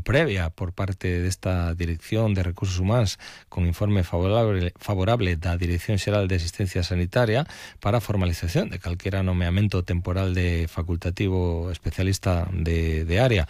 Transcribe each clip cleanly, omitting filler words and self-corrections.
previa por parte desta Dirección de Recursos Humanos con informe favorable da Dirección Xeral de Asistencia Sanitaria para a formalización de calquera nomeamento temporal de facultativo especialista de área.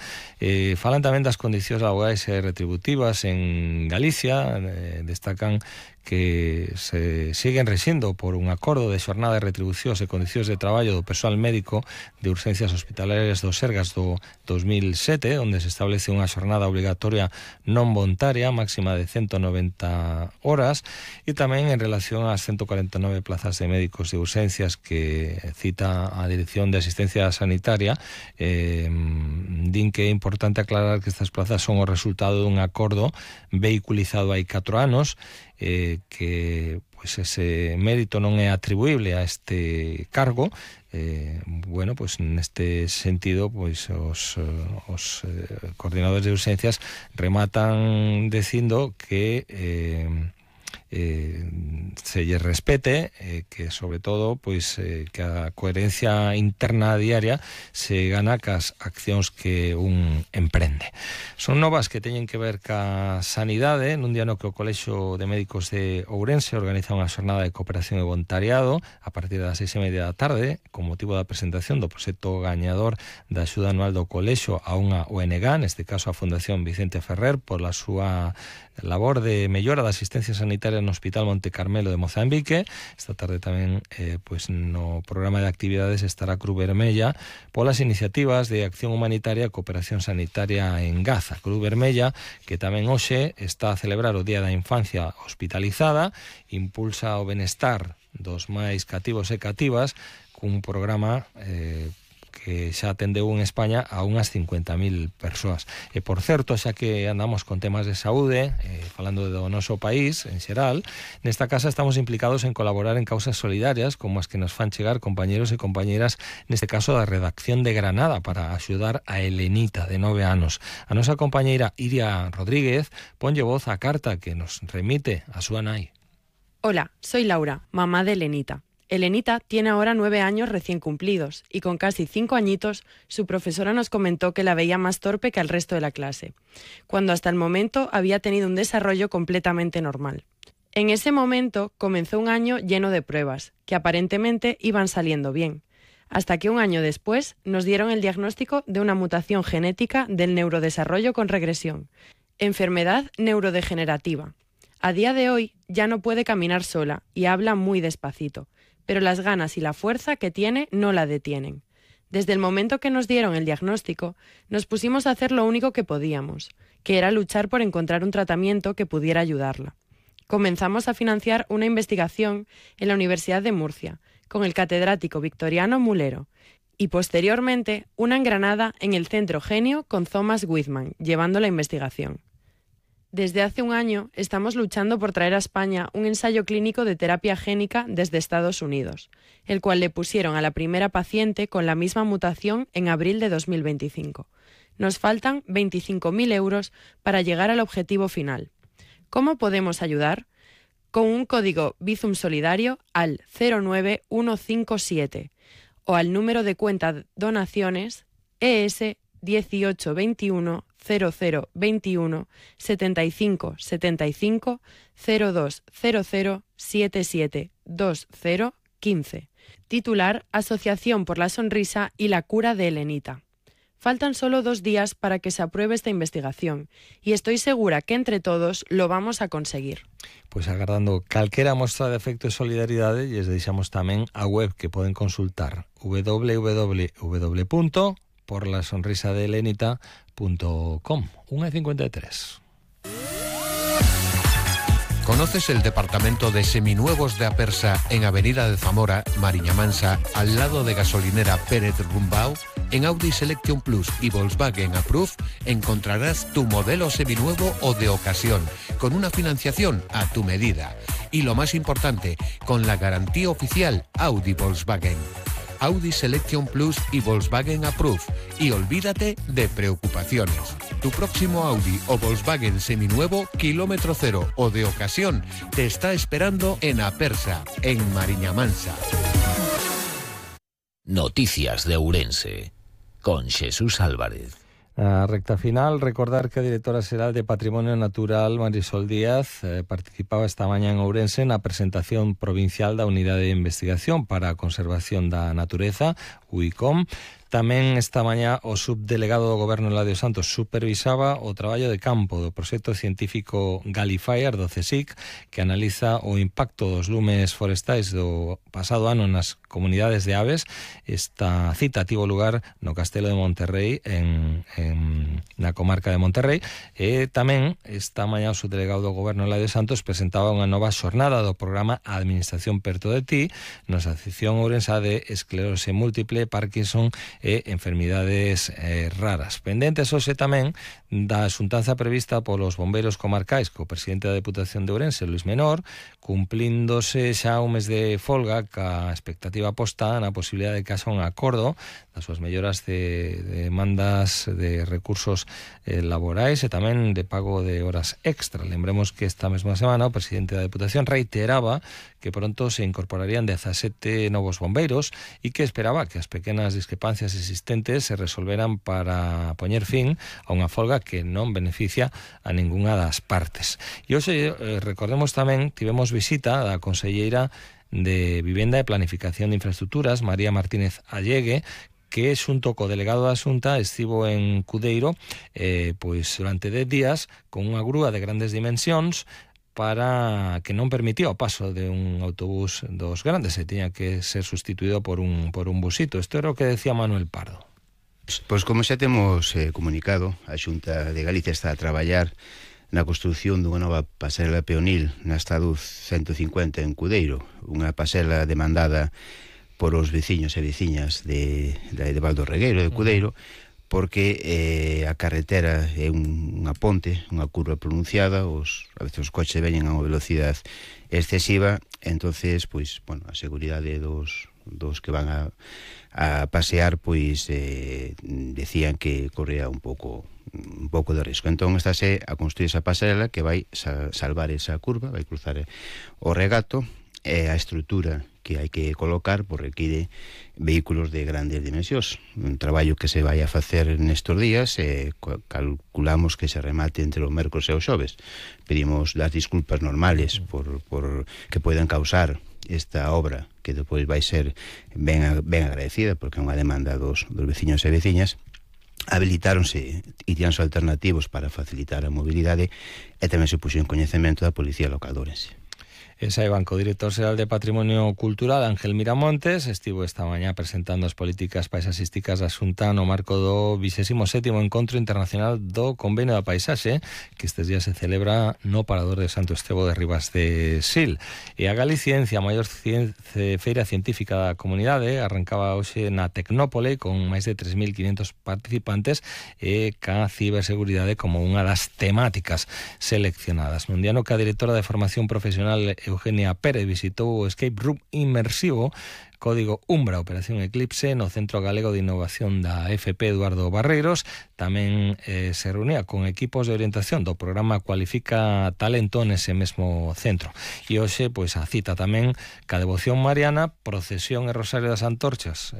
Falan tamén das condicións laborais e retributivas en Galicia, destacan que se siguen rexindo por un acordo de xornada de retribucións e condicións de traballo do persoal médico de urxencias hospitalarias do Sergas do 2007, onde se establece unha xornada obligatoria non voluntaria máxima de 190 horas, e tamén en relación ás 149 plazas de médicos de urxencias que cita a Dirección de Asistencia Sanitaria. Din que é importante aclarar que estas plazas son o resultado dun acordo vehiculizado hai 4 anos, que pues ese mérito non é atribuible a este cargo. Bueno, pues neste sentido, pues os coordinadores de urxencias rematan dicindo que se lle respete, que sobre todo pues que a coherencia interna diaria se gana cas accións que un emprende. Son novas que teñen que ver ca sanidade, nun día no que o Colexio de Médicos de Ourense organiza unha xornada de cooperación e voluntariado a partir das 6:30 da tarde con motivo da presentación do proxecto gañador da axuda anual do Colexio a unha ONG, neste caso a Fundación Vicente Ferrer, pola súa labor de mellora da asistencia sanitaria no Hospital Monte Carmelo de Mozambique. Esta tarde tamén pues no programa de actividades estará Cruz Vermella polas iniciativas de acción humanitaria e cooperación sanitaria en Gaza. Cruz Vermella, que tamén hoxe está a celebrar o Día da Infancia Hospitalizada, impulsa o benestar dos máis cativos e cativas cun programa que xa atendeu en España a unhas 50.000 persoas. E por certo, xa que andamos con temas de saúde, falando do noso país en xeral, nesta casa estamos implicados en colaborar en causas solidarias como as que nos fan chegar compañeros e compañeras, neste caso da redacción de Granada, para axudar a Elenita, de 9 anos. A nosa compañeira Iria Rodríguez ponlle voz á carta que nos remite a súa nai. Hola, soy Laura, mamá de Elenita. Elenita tiene ahora 9 años recién cumplidos y con casi 5 añitos su profesora nos comentó que la veía más torpe que al resto de la clase, cuando hasta el momento había tenido un desarrollo completamente normal. En ese momento comenzó un año lleno de pruebas, que aparentemente iban saliendo bien, hasta que un año después nos dieron el diagnóstico de una mutación genética del neurodesarrollo con regresión, enfermedad neurodegenerativa. A día de hoy ya no puede caminar sola y habla muy despacito, pero las ganas y la fuerza que tiene no la detienen. Desde el momento que nos dieron el diagnóstico, nos pusimos a hacer lo único que podíamos, que era luchar por encontrar un tratamiento que pudiera ayudarla. Comenzamos a financiar una investigación en la Universidad de Murcia, con el catedrático Victoriano Mulero, y posteriormente una en Granada en el Centro Genio con Thomas Whitman, llevando la investigación. Desde hace un año estamos luchando por traer a España un ensayo clínico de terapia génica desde Estados Unidos, el cual le pusieron a la primera paciente con la misma mutación en abril de 2025. Nos faltan 25.000 euros para llegar al objetivo final. ¿Cómo podemos ayudar? Con un código Bizum Solidario al 09157 o al número de cuenta donaciones ES 1821 0021 75 75 0200 77 20 15. Titular: Asociación por la Sonrisa y la Cura de Elenita. Faltan solo 2 días para que se apruebe esta investigación y estoy segura que entre todos lo vamos a conseguir. Pois agardando calquera mostra de afecto e solidaridade, lles deixamos tamén a web que poden consultar: www.porlasonrisadeelenita.com. 1:53. ¿Conoces el departamento de seminuevos de Apersa en Avenida de Zamora, Mariña Mansa, al lado de gasolinera Pérez Rumbao? En Audi Selection Plus y Volkswagen Approve encontrarás tu modelo seminuevo o de ocasión, con una financiación a tu medida. Y lo más importante, con la garantía oficial Audi Volkswagen. Audi Selection Plus y Volkswagen Approve. Y olvídate de preocupaciones. Tu próximo Audi o Volkswagen seminuevo, kilómetro cero o de ocasión, te está esperando en Apersa, en Mariña Mansa. Noticias de Ourense, con Jesús Álvarez. A recta final, recordar que a directora xeral de Patrimonio Natural, Marisol Díaz, participaba esta mañá en Ourense na presentación provincial da Unidade de Investigación para a Conservación da Natureza, UICOM. Tamén esta mañá o subdelegado do Goberno Eladio Santos supervisaba o traballo de campo do proxecto científico Galifire do CSIC, que analiza o impacto dos lumes forestais do pasado ano nas comunidades de aves. Esta cita tivo lugar no Castelo de Monterrey, na comarca de Monterrey, e tamén esta mañá o subdelegado do Goberno Eladio Santos presentaba unha nova xornada do programa Administración perto de ti, na Asociación Ourense de Esclerose Múltiple, Parkinson e enfermidades raras. Pendentes hoxe tamén da xuntanza prevista polos bombeiros comarcais co presidente da Deputación de Ourense, Luis Menor, cumplíndose xa un mes de folga ca expectativa posta na posibilidade de que haxa un acordo das súas melloras de demandas de recursos laborais e tamén de pago de horas extra. Lembremos que esta mesma semana o presidente da Deputación reiteraba que pronto se incorporarían 17 novos bombeiros e que esperaba que as pequenas discrepancias existentes se resolveran para poñer fin a unha folga que non beneficia a ningunha das partes. E hoxe, recordemos tamén, tivemos visita da conselleira de Vivenda e Planificación de Infraestructuras, María Martínez Allegue, que xunto co delegado da Xunta estivo en Cudeiro pois durante 10 días con unha grúa de grandes dimensións para que non permitía o paso de un autobús dos grandes e tiña que ser sustituído por un busito. Isto era o que decía Manuel Pardo. Pois como xa temos comunicado, a Xunta de Galicia está a traballar na construción dunha nova pasarela peonil na Estado 150 en Cudeiro, unha pasarela demandada por os veciños e veciñas de Val do Regueiro, de Cudeiro, porque a carretera é unha ponte, unha curva pronunciada, a veces os coches veñen a unha velocidade excesiva, entonces, pois, bueno, a seguridade dos que van a pasear, pois, decían que corría un pouco de risco. Entón, estáse a construir esa pasarela que vai salvar esa curva, vai cruzar o regato, e a estrutura que hai que colocar por require vehículos de grandes dimensións. Un traballo que se vai a facer nestes días e calculamos que se remate entre o mércores e o xoves. Pedimos as disculpas normales por que poden causar esta obra, que depois vai ser ben agradecida porque é unha demanda dos veciños e veciñas. Habilitáronse itiráns alternativos para facilitar a mobilidade e tamén se puxo en coñecemento da Policía Local de Ourense. Esa é Banco Director Xeral de Patrimonio Cultural, Ángel Miramontes, estivo esta mañá presentando as políticas paisaxísticas da Xunta no marco do 27º Encontro Internacional do Convenio da Paisaxe, que estes días se celebra no Parador de Santo Estevo de Ribas de Sil. E a Galiciencia, a maior feira científica da comunidade, arrancaba hoxe na Tecnópole con máis de 3.500 participantes e ca ciberseguridade como unha das temáticas seleccionadas. Nun día no que a directora de Formación Profesional Eugenia Pérez visitou o Escape Room Inmersivo Código Umbra, Operación Eclipse, no Centro Galego de Innovación da FP Eduardo Barreiros. Tamén se reunía con equipos de orientación do programa Cualifica Talento nese mesmo centro. E hoxe, pois, a cita tamén ca devoción mariana, procesión e Rosario das Antorchas,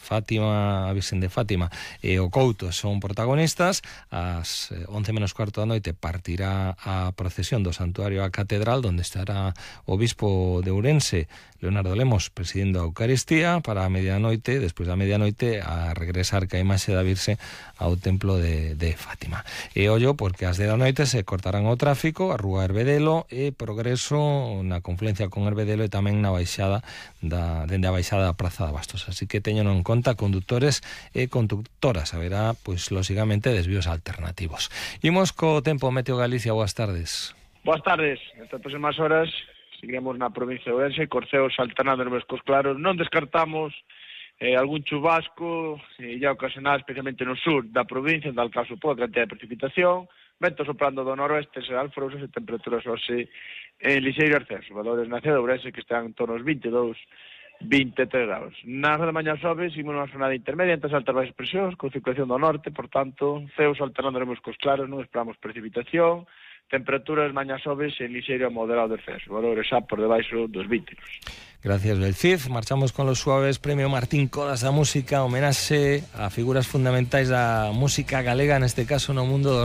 Fátima, a Virxen de Fátima e o Couto son protagonistas. Ás 11:15 da noite partirá a procesión do Santuario a Catedral, onde estará o bispo de Ourense, Leonardo Lemos, presidindo a Eucaristía, para a medianoite, despois da medianoite, a regresar ca imaxe da Virxe ao templo de Fátima. E ollo, porque ás 10 da noite se cortarán o tráfico, a rúa Herbedelo e Progreso na confluencia con Herbedelo e tamén na baixada dende a baixada da Praza de Bastos. Así que teñen en conta condutores e conductoras. Haberá, pois, lóxicamente, desvíos alternativos. Imos co tempo. Meteo Galicia, boas tardes. Boas tardes. Estas próximas horas seguiremos na provincia de Ourense, corceos alternando nos mescos claros. Non descartamos algún chubasco ya ocasional, especialmente no sur da provincia, en tal caso por cantidad de precipitación, vento soprando do noroeste, serán alforosas e temperaturas hoxe en lixeiro ascenso. Valores na cidade de Ourense que están en torno aos 22, 23 graus. Na hora de mañá xoves, imos nunha jornada intermedia entre as altas baixas presións, con circulación do norte, por tanto, ceos alternando nos mescos claros, non esperamos precipitación, temperaturas mañas soves en lixeiro a moderado descenso, valores xa por debaixo dos 20. Gracias, Belcid. Marchamos con los suaves. Premio Martín Codas da Música, homenaxe a figuras fundamentais da música galega, neste caso no mundo do